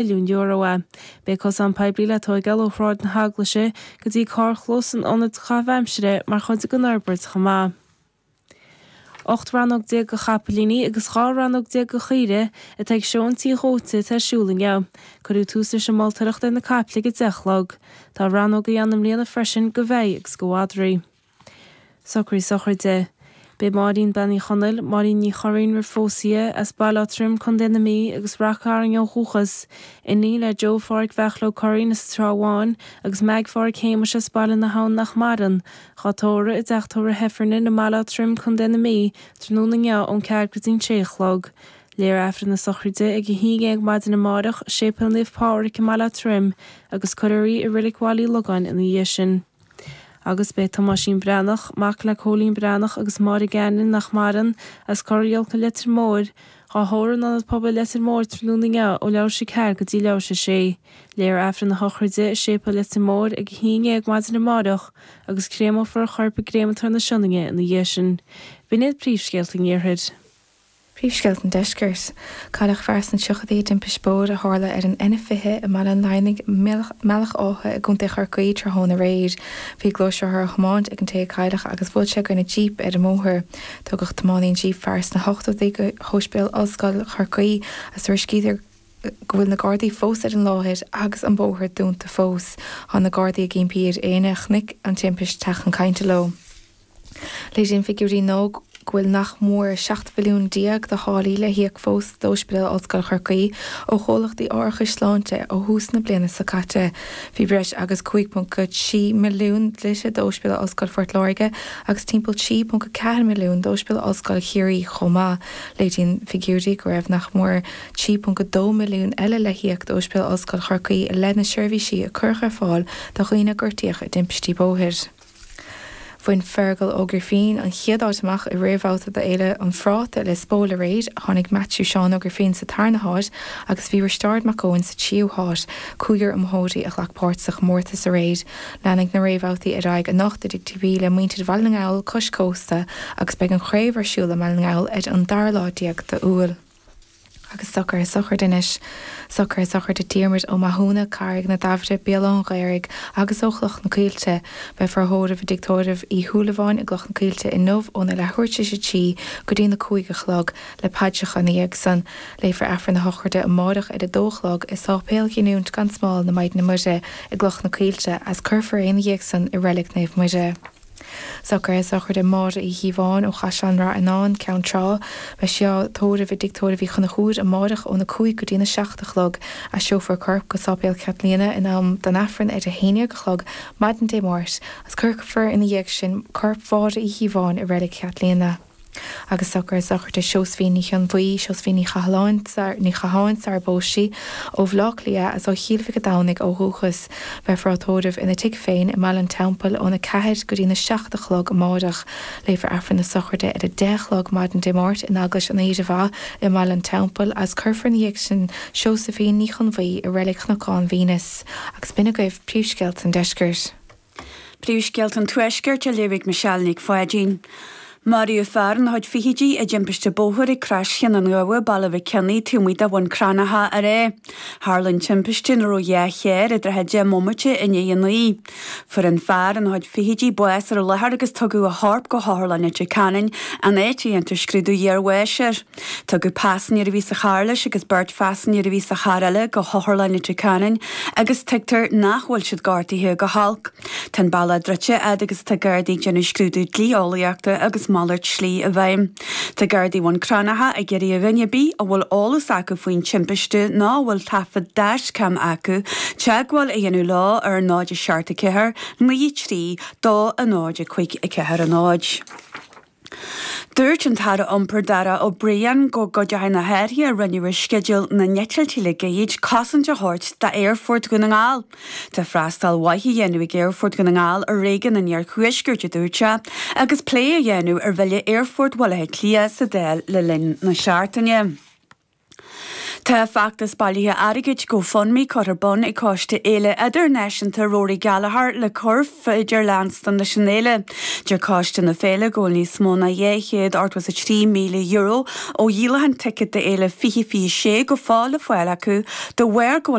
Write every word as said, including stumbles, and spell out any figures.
milliún euro é. Beidh cosán poiblí le tóigeáil ó Shráid na hEaglaise go dtí carrchlós an Ionaid Caitheamh Aimsire mar chuid den fhorbairt chomh maith. Ocht rannóg déag de chapaillíní agus dhá rannóg déag de chaoire atá ag seó an tí dhóite atá ar siúl inniu. Cuireadh tús leis an moltóireacht ar na caiple ag a deich a chlog. Tá rannógaí ann i mbliana freisin do bheithe agus do mhadraí. Socruithe sochraide. Beidh Máirín Bean Uí Chonaill, Máirín Ní Churraoin roimh phósadh di, as Baile Átha Troim, Contae na Mí agus Rath Cairn ó dhúchas, iníon le Joe Pháraic Bheartla Ó Curraoin as an Trá Bháin agus Meaig Pháraic Shéamais as Baile na hAbhann nach maireann, dhá tórramh i dteach tórraimh Heffernan i mBaile Átha Troim, Contae na Mí, tráthnóna inniu ón ceathair go dtí an sé a chlog. Léifear Aifreann na sochraide ag a haon déag maidin amárach, Séipéal Naomh Pádraig i mBaile Átha Troim agus cuirfear í i Reilig Bhaile Uí Logáin ina dhiaidh sin. Agus beidh Tomáisín Breathnach, mac le Cóilín Breathnach agus Máire Gannon nach maireann, as Corr Iolca Leitir Móir, dhá thórramh in Ionad Pobail Leitir Móir tráthnóna inniu ó leathuair tar éis a ceathair go dtí leathuair tar éis a sé. Léifear Aifreann na sochraide i Séipéal Leitir Móir ag a haon déag maidin amárach agus créamófar a chorp i gCréamatóir na Sionainne ina dhiaidh sin. B'in iad príomhscéalta an Iarthair. Príomhscéalta an Deiscirt. Cailleadh fear sna tríochaidí i dtimpiste bóthair a tharla ar an N fiche i mBaile an Laighneaigh, mBealach Átha i gContae Chorcaí tráthnóna aréir. Bhí gluaisrothar á thiomáint ag an té a cailleadh agus bhuail sé i gcoinne jíp ar an mbóthar. Tugadh tiománaí an jíp, fear sna hochtóidí, go hOspidéal Ollscoil Chorcaí agus tuairiscítear go bhfuil na Gardaí fós ar an láthair agus an bóthar dúnta fós. Tá na Gardaí ag impí ar éinne a chonaic an timpiste teacht chun cainte leo. Léiríonn figiúirí nua go bhfuil nach mór seacht mhilliún déag de tháillí le híoc fós d'Ospidéal Ollscoil Chorcaí ó chomhlachtaí árachais sláinte ó thús na bliana seo caite. Bhí breis agus cúig ponc trí milliún dlite d'Ospidéal Ollscoil Phort Láirge agus timpeall trí ponc ceathair milliún d'Ospidéal Ollscoil Chiarraí chomh maith. Léiríonn figiúirí go raibh nach mór trí ponc dó milliún eile le híoc d'Ospidéal Ollscoil Chorcaí i leith na seirbhísí a cuireadh ar fáil do dhaoine a gortaíodh i dtimpistí bóthair. Bhain Feargal Ó Grifín an chéad áit amach i réamhbhabhta d'Fhéile an Phráta Lios Póil aréir, tháinig Matthew Seán Ó Grifín sa tarna háit agus bhí Risteárd Mac Eoin sa tríú háit, cúigear iomaitheoirí a ghlac páirt sa chomórtas aréir. Leanfaidh na réamhbhabhtaí ar aghaidh anocht i dTigh TB le muintir Bhaile na nGall cois cósta agus beidh an chraobh ar siúl i mBaile na nGall ar an dara lá déag d'Iúil. Agus socruithe sochraide anois. Socruithe sochraide Diarmuid Ó Mathúna, Carraig na Daimhre, Béal Átha an Ghaorthaidh agus ó Chloch na Coillte. Beifear á thórramh i dtigh tórraimh Uí Shúilleabháin i gCloch na Coillte inniu óna leathuair tar éis a trí go dtí na cúig a chlog, le paidreacha ina dhiaidh san. Léifear Aifreann na sochraide amárach ar a dó a chlog i Sáipéal Ghiniúint gan Smál na Maighdine Muire i gCloch na Coillte agus cuirfear é ina dhiaidh san i Reilig Naomh Muire. Socruithe sochraide Máire Uí Chíobháin ó Chaisleán Rath Fhionáin, Ceann Trá. Beidh sí á tórramh i dTigh Tórraimh Uí Chonchúir amárach óna cúig go dtína seacht a chlog. Aistreofar a corp go Sáipéal Chaitliona in am don Aifreann ar a haon déag a chlog maidin Dé Máirt agus cuirfear ina dhiaidh sin corp Mháire Uí Chíobháin i Reilig Chaitliona. Agus socruithe sochraide Seosaimhín Ní Chionbhuí, Seosaimhín Ní Chathalláin, Ní Chatháin sara bpós sí, ó Bhaile Átha Cliath agus ó Chill Mhic an Domhnaigh ó dhúchas. Beifear á tórramh ina tigh féin i mBaile an Teampaill óna ceathair go dtína seacht a chlog amárach. Léifear Aifreann na sochraide ar a deich a chlog maidin Dé Máirt in Eaglais an Aoire Mhaith i mBaile an Teampaill agus cuirfear ina dhiaidh sin Seosaimhín Ní Chonbhuí i Reilig Chnocán Mhínus. Agus b'in agaibh príomhscéalta an deiscirt. Príomhscéalta an Tuaiscirt á léamh ag Michelle Nic Pháidín. Maraíodh fear ina chuid fichidí i dtimpiste bóthair ag Crois Cheann an Ghabha, Baile Mhic Cionnaith, taobh amuigh de Bhun Cranncha aréir. Tharla an timpiste nuair a raibh dhá charr i dtrátha deich mbomaite i ndiaidh a naoi. Fuair an fear ina chuid fichidí bás ar an láthair agus tugadh a chorp go hOtharlann Leitir Ceanainn, an áit a dhéantar scrúdú iarbháis air. Tugadh paisinéir a bhí sa charr leis agus beirt phaisinéir a bhí sa charr eile go hOtharlann Leitir Ceanainn agus tuigtear nach bhfuil siad gortaithe go holc. Tá an bealach druidte fhad agus atá Gardaí ag déanamh scrúdú dlí-eolaíochta agus malairt slí i bhfeidhm. Tá Gardaí Bhun Cranncha ag iarraidh ar dhuine ar bith a bhfuil eolas acu faoin timpiste nó a bhfuil taifead dashcam acu teagmháil a dhéanamh leo ar náid a seacht a ceathair, naoi trí, dó a náid a cúig a ceathair a náid. Dúirt an tAire Iompair Darragh O'Brien go gcuideoidh na hathruithe a rinneadh ar sceideal na n-eitiltí le gairid cosaint a thabhairt d'Aerfort Dhún na nGall. Tá freastal mhaith á dhéanamh ag Aerfort Dhún na nGall ar réigiún an Iarthuaiscirt, a dúirt sé, agus plé á dhéanamh ar bhille Aerfort Bhaile Átha Cliath sa Dáil le linn na seachtaine. Tá feachtas bailithe airgid GoFundMe curtha ar bun ag Coiste Fhéile Idirnáisiúnta Rory Gallagher le cur féidir leanstan leis an fhéile. Deir Coiste na Féile go níos mó ná dhá chéad ochtó a trí míle euro ó dhíolachán ticéad d'fhéile fiche fiche sé go fóill le fáil acu de bharr go